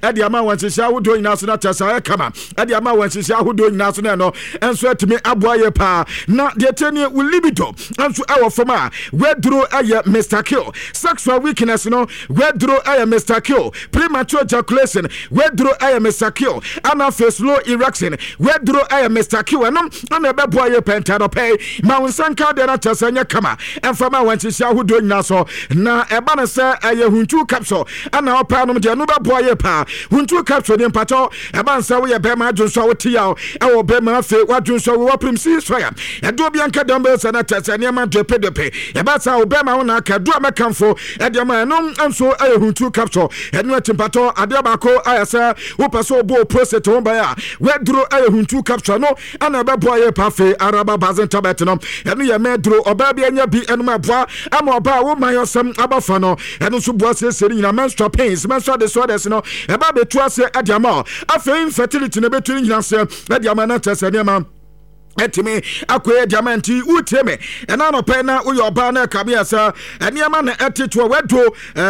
Ɛde ama wɔn nhyehyɛ ahodoɔ nyinaa so na kyɛ sɛ ayɛ kama ɛde ama wɔn nhyehyɛ ahodoɔ nyinaa so na ɛno nso atumi aboa yɛ paa. Na deɛ tie nie, wo libido nso ɛwɔ fam a, waduro ɛyɛ Mr Kill. Sexual weakness no, waduro ɛyɛ Mr Kill. Premature ejaculation, waduro ɛyɛ Mr Kill. Ɛna afei slow erection, waduro ɛyɛ Mr Kill. Ɛno ɛna ɛbɛboa yɛ pɛntɛ dɔpɛ ma wo nsa nka deɛ no kyɛ sɛ nyɛ kama ɛmfa ma wɔn nhyehyɛ ahodoɔ nyinaa so. Na ɛba no sɛ ɛyɛ huntu capsule ɛna ɔpɛ anom deɛ, no bɛboa yɛ paa. Huntu capsule ne mpakyɛw, ɛba nsɛ woyɛ bɛrima adwonso a wote yaw ɛwɔ bɛrima, afei wadwonso wo wapirim si sɔya ɛde obi anka dɛm bɛyɛ sɛ na kyɛ sɛ nneɛma dwepedepe ɛba saa wo bɛrima wo na aka du a mɛkamfo ɛde ama ɛno nso ɛyɛ huntu capsule. Ɛno akyi mpakyɛw, adeɛ baako ayɛ sɛ wopɛ sɛ wobɔ prostate ho ban a, waduro ɛyɛ huntu capsule no ɛna ɛbɛboa yɛ pa. Afei araba bazen tablet no, ɛno yɛ mɛduro ɔbaa bi anya bi ɛnom, ɛboa ama ɔbaa wo man ɔsɛm aba fa no. Ɛno nso boa siesie no nyinaa. Menstrual pains, menstrual disorders no, ɛba bɛtu aseɛ ɛde ama ɔ. Afei infertility no, ɛbɛtu no nyinaa aseɛ ɛde ama na kyerɛ sɛ nneɛma ɛtumi akɔyɛ diama. Nti wotie me ɛna anɔpɛ na woyɛ ɔbaa na ɛka meɛ sɛ nneɛma na ɛtetoɔ wadu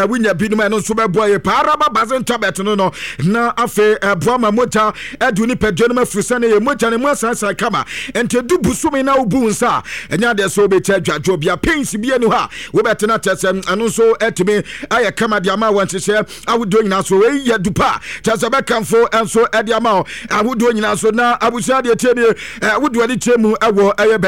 wonya binom, ɛno nso bɛboa yɛ paa. Araba bazen tablet no na afei ɛboa ma mogya ɛde nipadua no mu afiri sɛ ne yɛ mogya no mu asansan kama. Nti du busumi na wobu wo nsa a, ɛnyɛ adeɛ sɛ wobɛti adwadwo bia, pains bi ani hɔ a wobɛtena kyɛ sɛ ɛno nso ɛtumi ayɛ kama de ama wɔ nhyehyɛ ahodoɔ nyinaa so. Wei yɛ dupa kyɛ sɛ bɛkamfo nso ɛde ama wo ahodoɔ nyinaa so. Na abusua, deɛ tie nie, wodoɔ de tie mu ɛwɔ ɛyɛ.